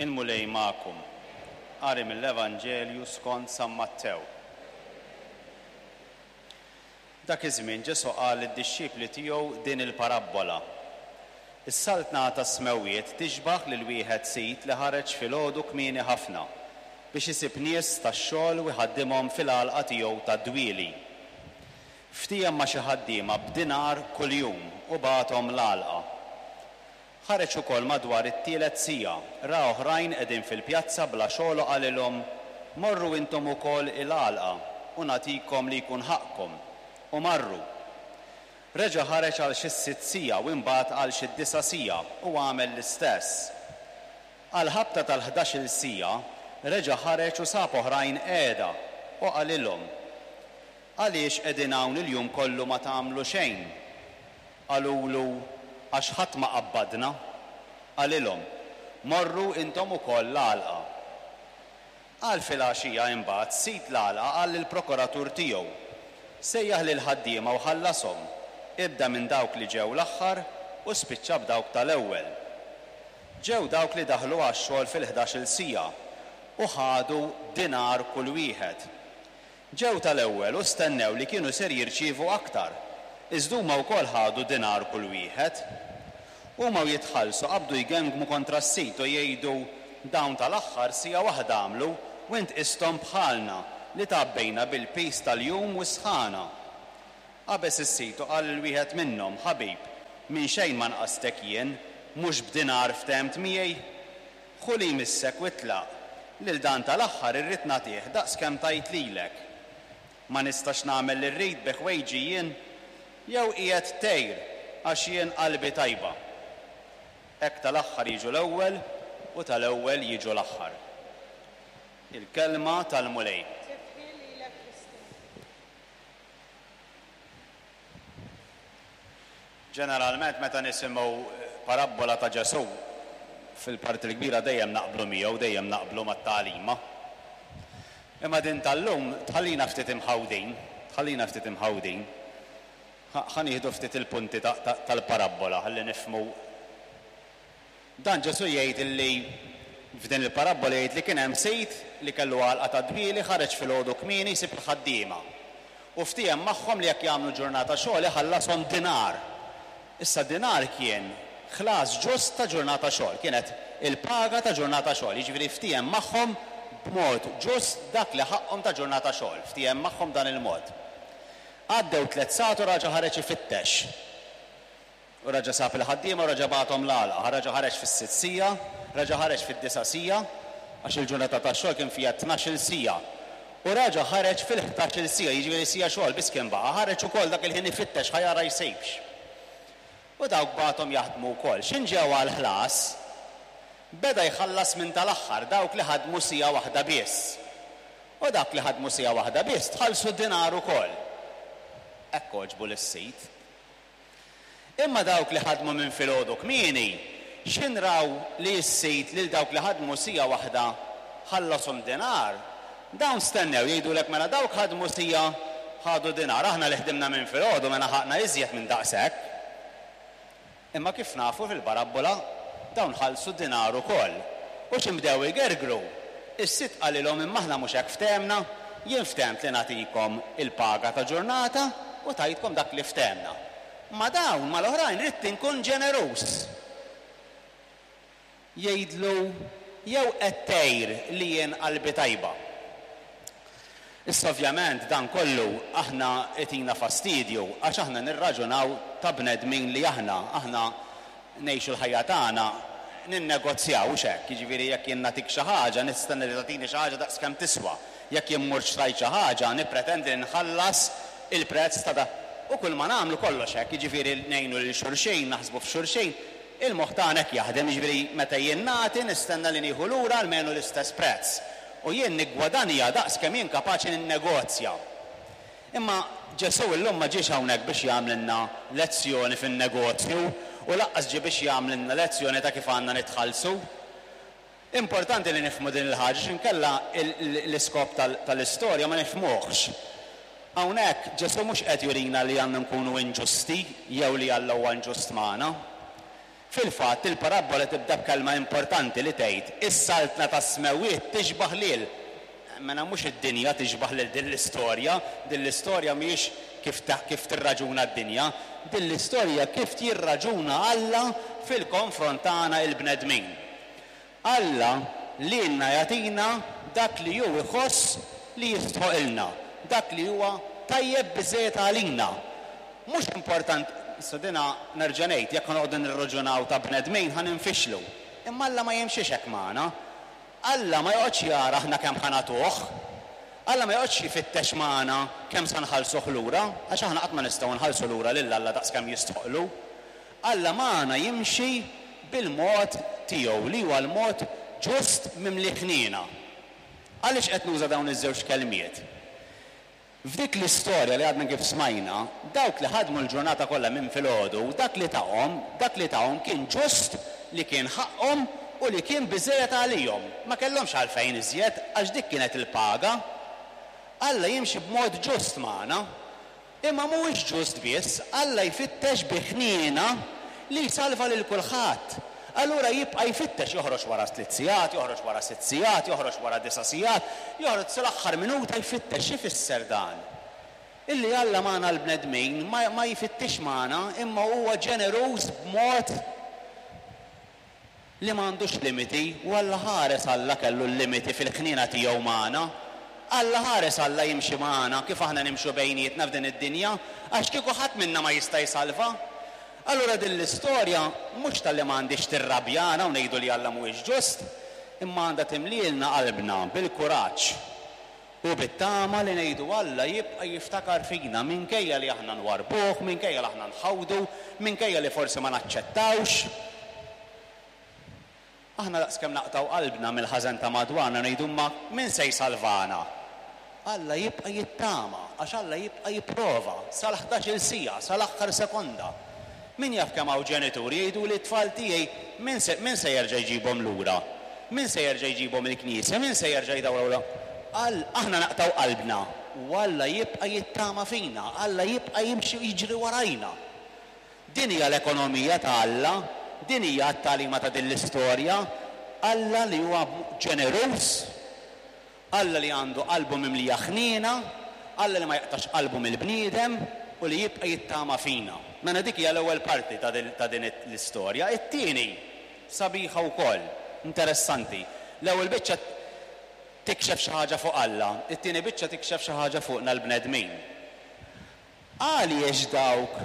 Il-Mulej magħkom. Qari mill-Evanġelju skont San Mattew. Dak iż-żmien Ġesù qal lid-dixxipli tiegħu din il-parabbola, Is-Saltna tas-smewwiet tixbah lil wieħed sid li ħareġ filgħodu kmieni ħafna biex isib nies tax-xogħol u jħaddimhom fil-għalqa tiegħu tad-dwieli. Ftiehem ma' xi ħaddiema b'dinar kuljum u bagħathom l-għalqa. Ħareġ ukoll madwar it-tielet siegħa, ra oħrajn qegħdin fil-pjazza bla xogħol u qalilhom, 'Morru intom ukoll il-għalqa u nagħtikom li jkun ħaqqkom. U marru. Reġa' ħareġ għal xi s-sitt siegħa u imbagħad għal xi d-disa' siegħa u għamel l-istess. Għall-ħabta tal-ħdax-il siegħa reġa' ħareġ u sab oħrajn qiegħda u qalilhom, Għaliex qegħdin hawn il-jum kollu ma tagħmlu xejn? Qalulu, Għax ħadd ma qabbadna. Qalilhom, Morru intom ukoll l-għalqa. Għal filgħaxija imbagħad sid l-għalqa qal lill-prokuratur tiegħu, Sejjaħ lill-ħaddiema u ħallashom, ibda minn dawk li ġew l-aħħar u spiċċa b'dawk tal-ewwel. Ġew dawk li daħlu għax-xogħol fil-ħdax-il siegħa u ħadu dinar kull wieħed. Ġew tal-ewwel u stennew li kienu ser jirċievu aktar, iżda huma wkoll ħadu dinar kull wieħed. Huma u jitħallsu qabdu jgengmu kontra s-sid u jgħidu, 'Dawn tal-aħħar siegħa waħda għamlu u int qisthom bħalna li tgħabbejna bil-piż tal-jum u s-sħana. Qabeż is-sid u qal lil wieħed minnhom, 'Ħabib, minn xejn ma nqastek jien, mhux b'dinar ftehemt miegħi? Ħu li jmissek u itlaq. Lil dan tal-aħħar irrid nagħtih daqs kemm tajt lilek. Ma nistax nagħmel li rrid bi ħwejġi jien? Jew qiegħed tgħir għax jien qalbi tajba? Hekk tal-aħħar jiġu l-ewwel u tal-ewwel jiġu l-aħħar. Il-Kelma tal-Mulej. Tifħir lilek Kristu. Ġeneralment meta nisimgħu parabbola ta' Ġesù, fil-parti l-kbira dejjem naqblu miegħu, dejjem naqblu mat-tagħlima. Imma din tal-lum tħallina ftit imħawdin, tħallina ftit imħawdin. Ħa nieħdu ftit il-punti tal-parabbola ħalli nifhmu Dan Ġesù jgħid li f'din il-parabbola jgħid li kien hemm sid li kellu għalqa ta' dwieli ħareġ filgħodu kmieni jsib il-ħaddiema. U ftiehem magħhom li jekk jagħmlu ġurnata xogħol iħallashom dinar. Issa dinar kien ħlas ġust ta' ġurnata xogħol, kienet il-paga ta' ġurnata xogħol, jiġifieri ftiehem magħhom b'mod ġust dak li ħaqqhom ta' ġurnata xogħol, ftiehem magħhom dan il-mod. Għaddew tlett sagħat u raġa' ħareġ ifittex. U raġa' sab il-ħaddiema u raġa' bagħathom l-għalqa. Raġa' ħareġ fis-sitt siegħa, raġa' ħareġ fid-disa' siegħa, għax il-ġurnata tax-xogħol kien fiha tnax-il siegħa. U raġa' ħareġ fil-ħdax-il siegħa, jiġifieri siegħa xogħol biss kien baqa', ħareġ ukoll dak il-ħin ifittex ħa jara jsibx. U dawk bagħathom jaħdmu wkoll. X'inġew għall-ħlas, beda jħallas minn tal-aħħar dawk li ħadmu siegħa waħda biss. U dawk li ħadmu siegħa waħda biss tħallsu dinar ukoll. Hekk għoġbu lis-sid. Imma dawk li ħadmu minn filgħodu kmieni, x'ħin raw li s-sid lil dawk li ħadmu siegħa waħda ħallashom dinar, dawn stennew jgħidulek mela dawk ħadmu siegħa ħadu dinar, aħna li ħdimna minn filgħodu mela ħaqna iżjed minn daqshekk. Imma kif nafu fil-parabbola, dawn ħallsu dinar ukoll. U x'ħin bdew igergru, is-sid qalilhom imma aħna mhux hekk ftehemna, jien ftehemt li nagħtikom il-paga ta' ġurnata u tajtkom dak li ftehemna. Ma' dawn, mal-oħrajn ridt inkun ġeneruż. Jgħidlu, Jew qed tgħir li jien qalbi tajba? Issa ovvjament dan kollu aħna jtina fastidju għax aħna nirraġunaw ta' bnedmin li aħna, aħna ngħixu l-ħajja tagħna ninnegozjaw, hux hekk? Jiġifieri jekk jien nagħtik xi ħaġa nistenna li tagħtini xi ħaġa daqs kemm tiswa. Jekk jien mort xtrajt xi ħaġa nippretendi li nħallas il-prezz ta' dak. U kulma nagħmlu kollox hekk, jiġifieri ngħinu lil xulxin, naħsbu f'xulxin, Il-moħħ tagħna hekk jaħdem, jiġifieri meta jien nagħti nistenna li nieħu lura almenu l-istess prezz. U jien niggwadanja daqs kemm jien kapaċi ninnegozja. Imma Ġesù illum ma ġiex hawnhekk biex jagħmlilna lezzjoni fin-negozju u lanqas ġie biex jagħmlilna lezzjoni ta' kif għandna nitħallsu. Importanti li nifhmu din il-ħaġa għax inkella l-iskop tal-istorja ma nifhmuhx. Hawnhekk Ġesù mhux qed jurina li għandna nkunu inġusti jew li Alla huwa inġust magħna. Fil-fatt, il-parabbola tibda b'kelma importanti li tgħid, Is-Saltna tas-Smewwiet tixbah lil. Mela mhux id-dinja tixbah lil din l-istorja, din l-istorja mhijiex kif kif tirraġuna d-dinja, din l-istorja kif jirraġuna Alla fil-konfront tagħna il-bnedmin. Alla lilna jagħtina dak li hu jħoss li jistħoqilna, dak li huwa tajjeb biżżejjed għalina. Mhux important, issa dina nerġa' ngħid, jekk ħa noqogħdu nirraġunaw ta' bnedmin ħa ninfixlu. Imma Alla ma jimxix hekk magħna. Alla ma joqgħodx jara aħna kemm ħa nagħtuh. Alla ma joqgħodx jfittex magħna kemm sa nħallsuh lura, għax aħna qatt ma nistgħu nħallsu lura lil Alla daqskemm jistħoqqlu. Alla magħna jimxi bil-mod tiegħu li huwa l-mod ġust mimli ħniena. Għaliex qed nuża dawn iż-żewġ kelmiet? F'dik l-istorja li għadna kif smajna, dawk li ħadmu l-ġurnata kollha minn filgħodu, dak li tahom, dak li tahom kien ġust, li kien ħaqqhom u li kien biżżejjed għalihom. Ma kellhomx għalfejn iżjed għax dik kienet il-paga. Alla jimxi b'mod ġust magħna. Imma mhuwiex ġust biss, Alla jfittex bi ħniena li jsalva lil kulħadd. Allura jibqa' jfittex, joħroġ wara tliet sigħat, joħroġ wara sitt sigħat, joħroġ wara disa' sigħat, joħroġ sal-aħħar minuta jfittex. X'ifisser dan? Illi Alla magħna l-bnedmin ma ma jfittixx magħna imma huwa ġeneruż b'mod li ma għandux limiti, u Alla ħares Alla kellu l-limiti fil-ħniena tiegħu magħna. Alla ħares Alla jimxi magħna kif aħna nimxu bejnietna f'din id-dinja, għax kieku ħadd minna ma jista' jsalva. Allura din l-istorja mhux talli ma għandhiex tirrabjana u ngħidu li Alla mhuwiex ġust, imma għandha timlielna qalbna bil-kuraġġ u bit-tama li ngħidu Alla jibqa' jiftakar fina minkejja li aħna nwarrbuh, minkejja li aħna nħawdu, minkejja li forsi ma naċċettawx. Aħna daqskemm naqtgħu qalbna mill-ħażen ta' madwarna ngħidu imma min se jsalvana? Alla jibqa' jittama għax Alla jibqa' jipprova sal-ħdax-il siegħa, sal-aħħar sekonda. Min jaf kemm hawn ġenituri jgħiduli t-tfal tiegħi min se min se jerġa' jġibhom lura? Min se jerġa' jġibhom il-knisja? Min se jerġa' jdawwar All aħna naqtgħu qalbna u Alla jibqa' jittama fina, Alla jibqa' jimxi u jiġri warajna. Din hija l-ekonomija ta' Alla, din hija t-tagħlima ta' din l-istorja, Alla li huwa ġeneruż, Alla li għandu qalbu mimlija ħniena, Alla li ma jaqtax qalbu mill-bniedem u li jibqa' jittama fina. Mela dik hija l-ewwel parti ta' din l-istorja. It-tieni, sabiħa wkoll, interessanti. L-ewwel biċċa tikxef xi ħaġa fuq Alla, it-tieni biċċa tikxef xi ħaġa fuqna l-bnedmin. Għaliex dawk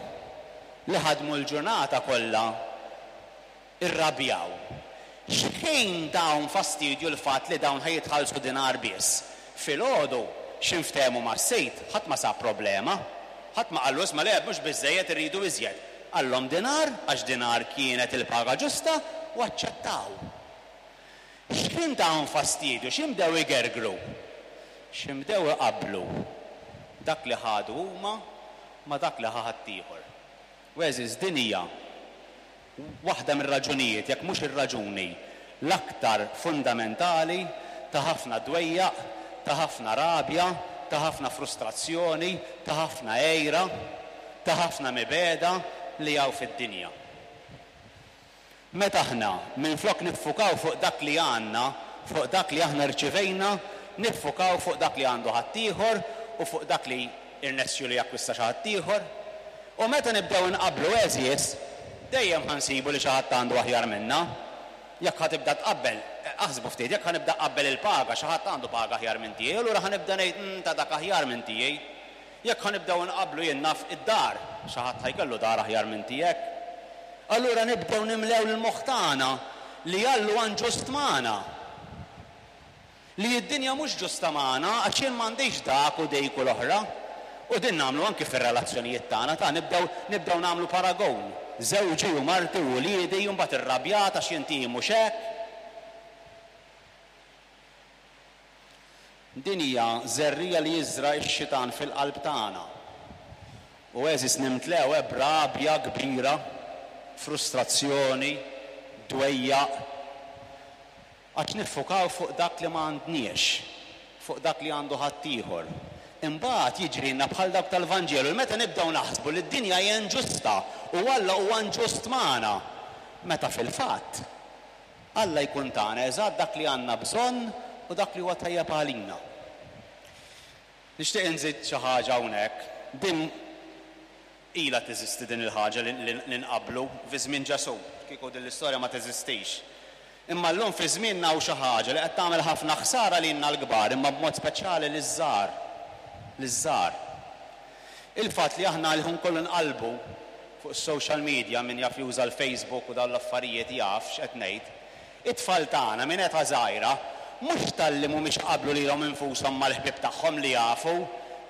li ħadmu l-ġurnata kollha rrabjaw? X'ħin tahom fastidju l-fatt li dawn ħa jitħallsu dinar biss? Filgħodu, x'inftehmu mas-sid, ħadd ma sab problema. Ħadd ma qallu isma' le mhux biżżejjed irridu iżjed. Qallhom dinar għax dinar kienet il-paga ġusta u aċċettaw. X'kien tahom fastidju? X'inbdew igergru? X'inbdew iqabblu dak li ħadu huma ma' dak li ħa ħaddieħor? U għeżież, din hija waħda mir-raġunijiet, jekk mhux ir-raġuni l-aktar fundamentali ta' ħafna dwejjaq, ta' ħafna rabja, ta' ħafna frustrazzjoni, ta' ħafna għira, ta' ħafna mibegħda li hawn fid-dinja. Meta aħna, minflok niffukaw fuq dak li għandna, fuq dak li aħna rċivejna, niffukaw fuq dak li għandu ħaddieħor u fuq dak li rnexxielu jakkwista xi ħaddieħor. U meta nibdew inqabblu għeżież, dejjem ħa nsibu li xi ħadd għandu aħjar minna. Jekk ħa tibda tqabbel, aħsbu ftit, jekk ħa nibda nqabbel il-paga, xi ħadd għandu paga aħjar minn tiegħi, allura ħa nibda ngħid, Umm, ta' dak aħjar minn tiegħi. Jekk ħa nibdew inqabblu jien naf id-dar, xi ħadd ħa jkollu dar aħjar minn tiegħek. Allura nibdew nimlew l-moħħ tagħna li Alla huwa inġust magħna. Li d-dinja mhux ġusta magħna għax jien m'għandix dak u dik u l-oħra. U din nagħmlu anki fir-relazzjonijiet tagħna ta' nibdew nibdew nagħmlu paragon. Żewġi u marti u uliedi u mbagħad irrabjat għax jien tiegħi mhux hekk. Din hija żerriegħa li jiżra' x-xitan fil-qalb tagħna. U għeżież nimtlew eh b'rabja kbira, frustrazzjoni, dwejjaq, għax niffukaw fuq dak li ma għandniex, fuq dak li għandu ħaddieħor. Imbagħad jiġrilna bħal dawk tal-Vanġelu li meta nibdew naħsbu li d-dinja hija inġusta u Alla huwa inġust magħna. Meta fil-fatt, Alla jkun tana eżatt dak li għandna bżonn u dak li huwa tajjeb għalina. Nixtieq inżid xi ħaġa hawnhekk. Din ilha teżisti din il-ħaġa li nqabblu fi żmien Ġesù, kieku din l-istorja ma teżistix. Imma llum fi żmienna hawn xi ħaġa li qed tagħmel ħafna ħsara lilna l-kbar imma b'mod speċjali liż-żgħar. Liż-żgħar. Il-fatt li aħna l-ħin kollu nqallbu fuq is-social media, min jaf juża l-Facebook u dawn l-affarijiet jaf x'qed ngħid, it-tfal tagħna minn età żgħira mhux talli mhumiex iqabblu lilhom infushom mal-ħbieb tagħhom li jafu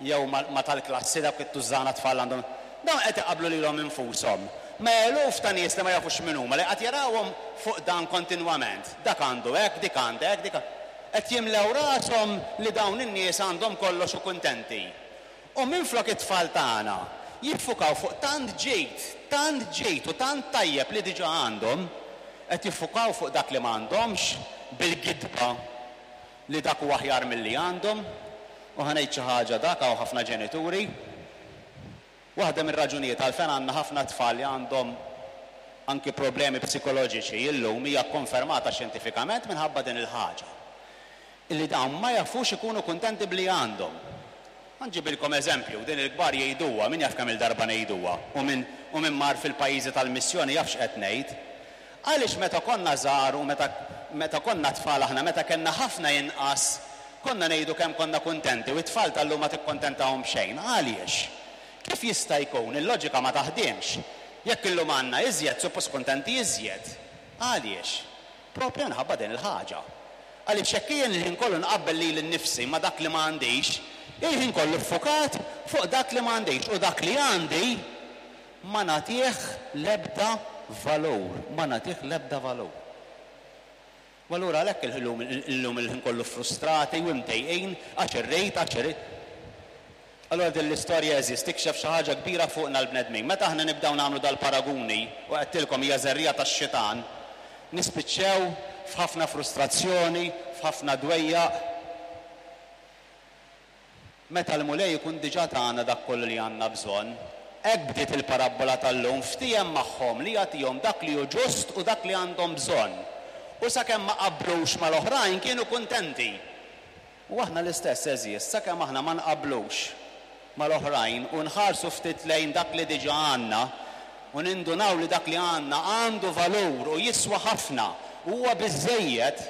jew ma' tal-klassi dawk it-tużżana tfal għandhom Dawn qed iqabblu lilhom infushom ma' eluf ta' nies li ma jafux min huma, li qed jarawhom fuq dan kontinwament. Dak għandu hekk, dik għandha hekk, dik Qed jimlew rashom li dawn in-nies għandhom kollox u kuntenti. U minflok it-tfal tagħna jiffukaw fuq tant ġid, tant ġid u tant tajjeb li diġà għandhom, qed jiffukaw fuq dak li m'għandhomx bil-gidba li dak hu aħjar milli għandhom. U ħa ngħid xi ħaġa dak hawn ħafna ġenituri. Waħda mir-raġunijiet għalfejn għandna ħafna tfal li għandhom anki problemi psikoloġiċi illum hija kkonfermata xjentifikament minħabba din il-ħaġa. Illi dawn ma jafux ikunu kuntenti b'li għandhom. Ħa nġibilkom eżempju, din il-kbar jgħiduha, min jaf kemm-il darba ngħiduha, u min u min mar fil-pajjiżi tal-missjoni jaf x'qed ngħid. Għaliex meta konna żgħar u meta meta konna tfal aħna meta kellna ħafna inqas konna ngħidu kemm konna kuntenti u t-tfal tal-lum ma tikkontentahom b'xejn. Għaliex? Kif jista' jkun? Il-loġika ma taħdimx. Jekk illum għandna iżjed suppost kuntenti iżjed. Għaliex? Proprju minħabba din il-ħaġa. Għaliex jekk jien il-ħin kollu nqabbel lili nnifsi ma' dak li ma għandix, il-ħin kollu ffukat fuq dak li ma għandix u dak li għandi Ma nagħtih l-ebda valur, ma nagħtih l-ebda valur. U allura għalhekk illum illum il-ħin kollu frustrati u imdejqin għax irrid, għax irrid. Allura din l-istorja għeżież tikxef xi ħaġa kbira fuqna l-bnedmin. Meta aħna nibdew nagħmlu dal-paraguni, u għedtilkom hija żerriegħa tax-xitan, nispiċċew f'ħafna frustrazzjoni, f'ħafna dwejjaq. Meta l-Mulej ikun diġà tana dak kollu li għandna bżonn. Hekk bdiet il-parabbola tal-lum, ftiehem magħhom li jagħtihom dak li hu ġust u dak li għandhom bżonn. U sakemm ma qablux mal-oħrajn kienu kuntenti. U aħna l-istess, għeżież, sakemm aħna ma nqablux mal-oħrajn u nħarsu ftit lejn dak li diġà għandna u nindunaw li dak li għandna għandu valur u jiswa ħafna u huwa biżżejjed,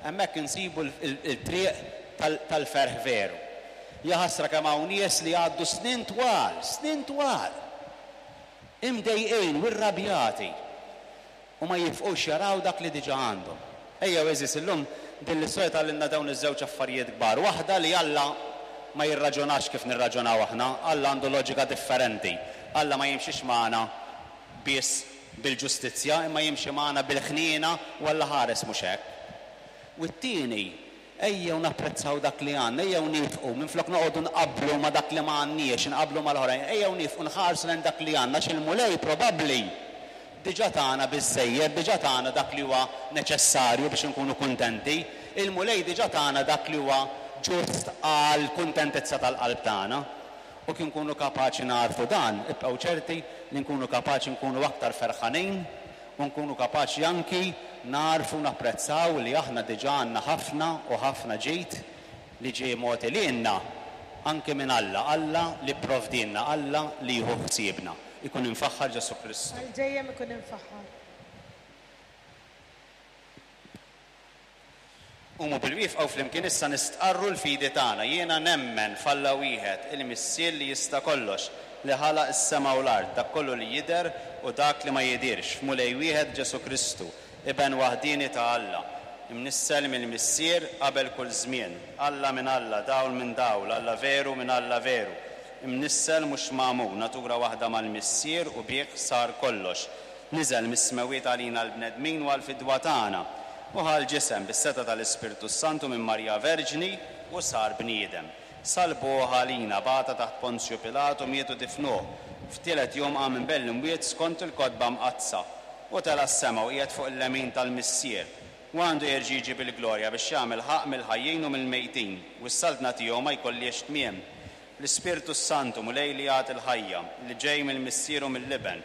hemmhekk insibu l-triq tal-ferħ veru. Jaħasra kemm hawn nies li jgħaddu snin twal, snin twal, imdejqin u rrabjati u ma jifqux jaraw dak li diġà għandhom. Ejjew għeżież illum din l-istorja tgħallimna dawn iż-żewġ affarijiet kbar. Waħda li Alla ma jirraġunax kif nirraġunaw aħna, Alla għandu loġika differenti. Alla ma jimxix magħna biss bil-ġustizzja imma jimxi magħna bil-ħniena u Alla ħares mhux hekk. U t-tieni, ejjew napprezzaw dak li għandna, ejjew niefqu, minflok noqogħdu nqabblu ma' dak li ma għandniex, inqabblu mal-oħrajn, ejjew niefqu nħarsu lejn dak li għandna għax il-Mulej probabbli diġà tana biżżejjed, diġà tana dak li huwa neċessarju biex inkunu kuntenti, il-Mulej diġà tana dak li huwa ġust għall-kuntentizza tal-qalb tagħna. U kif nkunu kapaċi nagħrfu dan, ibqgħu ċerti li nkunu kapaċi nkunu aktar ferħanin u nkunu kapaċi anki nagħrfu u napprezzaw li aħna diġà għandna ħafna u ħafna ġid li ġie mogħti lilna anki minn Alla, Alla li pprovdielna, Alla li jieħu ħsiebna. Ikun imfaħħar Ġesù Kristu. Għal dejjem ikun imfaħħar. Qumu bil-wieqfa u flimkien issa nistqarru l-fidi tagħna. Jiena nemmen f'Alla wieħed, il-Missier li jista' kollox, li ħalaq is-sema u l-art, dak kollu li jidher u dak li ma jidhirx, f'Mulej wieħed Ġesù Kristu, Iben waħdieni ta' Alla, imnissel mill-Missier qabel kull żmien, Alla minn Alla, dawl minn dawl, Alla veru minn Alla veru, imnissel mhux magħmul, natura waħda mal-Missier u bih sar kollox, Niżel mis-smewwiet għalina l-bnedmin u għall-fidwa tagħna, u ħa l-ġisem bis-setgħa tal-Ispirtu s-Santu minn Marija Verġni u sar bniedem. Salbuh għalina, bata taħt Ponzju Pilatu, miet u difnuh. F'tielet jum qam minn bejn l-imwiet skont il-Kotba Mqaddsa, u tela' s-sema u qiegħed fuq il-lemin tal-Missier, u għandu jerġa' jiġi bil-glorja biex jagħmel ħaqq mill-ħajjin u mill-mejtin, u s-saltna tiegħu ma jkollhiex tmiem. L-Ispirtu s-Santu, Mulej li jagħti l-ħajja, li ġej mill-Missier u mill-Iben.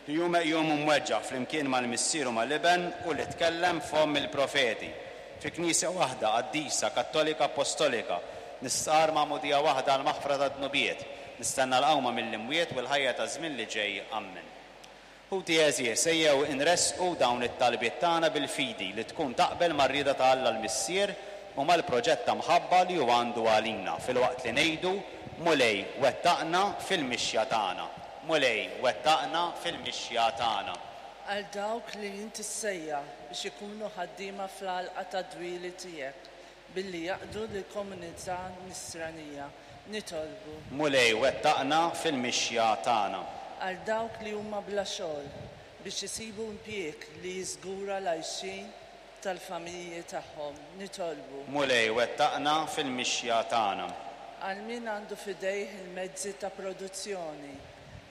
Li hu meqjum u mweġġa' flimkien mal-Missier u mal-Iben u li tkellem f'fomm il-profeti. Fi Knisja waħda, qaddisa, kattolika, appostolika, nistqarr magħmudija waħda għall-maħfra tad-dnubiet, nistenna l-qawma mill-imwiet u l-ħajja taż-żmien li ġej. Ammen. Ħuti għeżież, ejjew inressqu dawn it-talbiet tagħna bil-fidi li tkun taqbel mar-rieda ta' Alla l-Missier u mal-proġett ta' mħabba li hu għandu għalina, filwaqt li ngħidu, Mulej, wettaqna fil-mixja tagħna. Mulej, wettaqna fil-mixja tagħna. Għal dawk li int issejjaħ biex ikunu ħaddiema fl-għalqa tad-dwieli tiegħek, billi jaqdu lill-komunità Nisranija, nitolbu. Mulej, wettaqna fil-mixja tagħna. Għal dawk li huma bla xogħol, biex isibu impjieg li jiżgura l-għajxien tal-familji tagħhom, nitolbu. Mulej, wettaqna fil-mixja tagħna. Għal min għandu f'idejh il-mezzi ta' produzzjoni,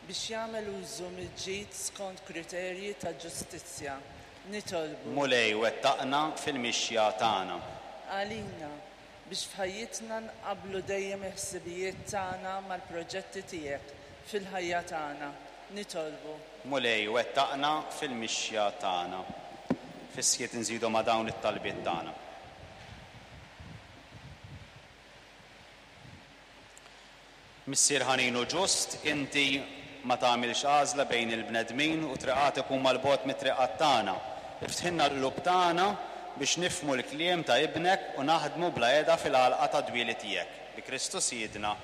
biex jagħmel użu mill-ġid skont kriterji ta' ġustizzja, nitolbu. Mulej, wettaqna fil-mixja tagħna. Għalina, biex f'ħajjitna nqabblu dejjem il-ħsibijiet tagħna mal-proġetti tiegħek fil-ħajja tagħna, nitolbu. Mulej, wettaqna fil-mixja tagħna. Fis-skiet inżidu ma' dawn it-talbiet tagħna. Missier ħanin u ġust, inti ma tagħmilx għażla bejn il-bnedmin u triqatek huma 'l bogħod mit-triqat tagħna. Iftħilna l-qlub tagħna biex nifhmu l-kliem ta' Ibnek u naħdmu bla heda fil-għalqa tad-dwieli tiegħek. Bi Kristu Sidna.